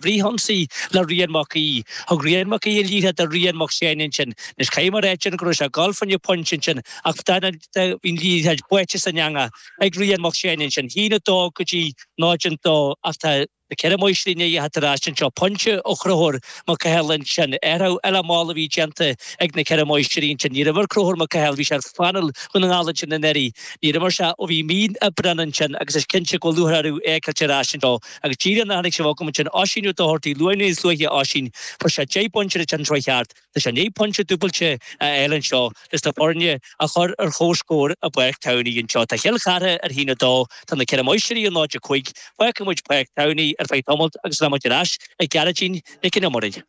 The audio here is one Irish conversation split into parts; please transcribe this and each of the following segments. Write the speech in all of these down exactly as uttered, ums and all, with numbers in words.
Frithionsaí le Rian Mac Aoidh. Thug Rian Mac Aoidh an liathróid do Rian Mac Seáin ansin. Anois caithfidh mé a ráit go raibh sé ag dul fá choinne pointe ansin ach bhí an liathróid buaite san eangach ag Rian Mac Seáin ansin. Haon a dó go dtí náid a dó ach tá na Ceithre Máistrí i ndiaidh a theacht ar ais anseo. Pointe ó Chonchúr Mac Cathail ansin. Athrú eile mall a bhí déanta ag na Ceithre Máistrí ansin. Níor imir Conchúr Mac Cathail, bhí sé ar phainéal Dhún na nGall ansin anuraidh. Níor imir sé ó bhí mí Aibreáin ansin agus is cinnte go bhfuil lúcháir orthu é a fheiceáilt ar ais anseo. Agus díreach nuair a tháinig sibh chugam ansin, Oisín Ó Dochartaigh, luath níos luaithe Oisín, fuair sé deich bpointe ar an tsraith cheart. Tá sé i ndiaidh pointe dúbailte a fháil anseo leis na foirne a chur ar comhscór i bPáirc Towney anseo. Tá Chill Chartha ar haon a dó, tá na Ceithre Máistrí ar náid a cúig, fágfaidh muid Páirc Towney ar feadh tamaill agus rachaidh muid ar ais ag Gearóidín Nic an Iomaire.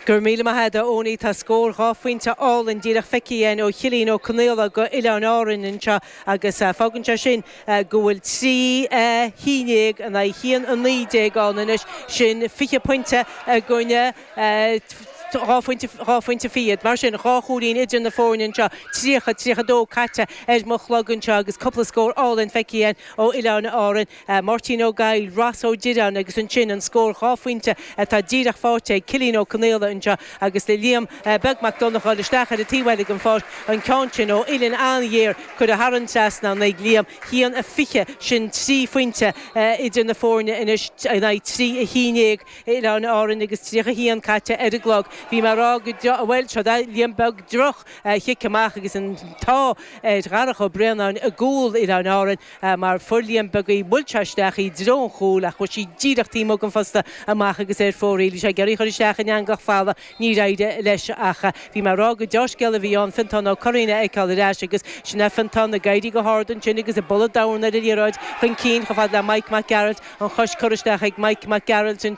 Go raibh míle maith agat a Eoiní tá scór dhá phointe álainn díreach feicthe againn ó Chillín Ó Conaola go Oileáin Árann anseo agus fágann sé sin go bhfuil trí a haon déag in aghaidh haon a naoi déag ann anois sin fiche pointe i gcoinne dhá phointe dhá phointe fichead. Mar sin dhá chúilín idir na foirne anseo tríocha tríocha dó caite ar mo chlog anseo agus cúpla scór álainn feicthe againn ó Oileáin Árann. Máirtín Ó Gaill, Ross Ó Direáin agus ansin an scór dhá phointe atá díreach faighte ag Cillian Ó Conaola anseo agus le Liam Beag Mac Donncha isteach ar an taobh eile den pháirc an ceann sin ó uillinn an-ghéar curtha thar an trasnán ag Liam haon a fiche sin trí phointe idir na foirne anois in aghaidh trí a haon déag Oileáin Árann agus tríocha haon caite ar an gclog. Bhí mé ag rá go bhfuil seo Liam Beag droch chic amach agus an t-ádh ar Dharach Ó Braonáin i gcúl Oileáin Árann mar fuair Liam Beag í bhuail sé isteach i dtreo an chúil ach chuaigh sí díreach taobh amuigh den phosta amach agus ar fóraoil. Bhí sé ag iarraidh chur isteach in eangach falla níor éirigh leis ach bhí mé ag rá go deá-scéal a bhí ann Fintán Ó Curraoin a fheiceáil ar ais agus sin é Fintán ag éirí go hard ansin agus ag bualadh dorn ar an liathróid chun cinn chomh fada le Mike Mac Gearailt an chois curtha isteach ag Mike Mac Gearailt ansin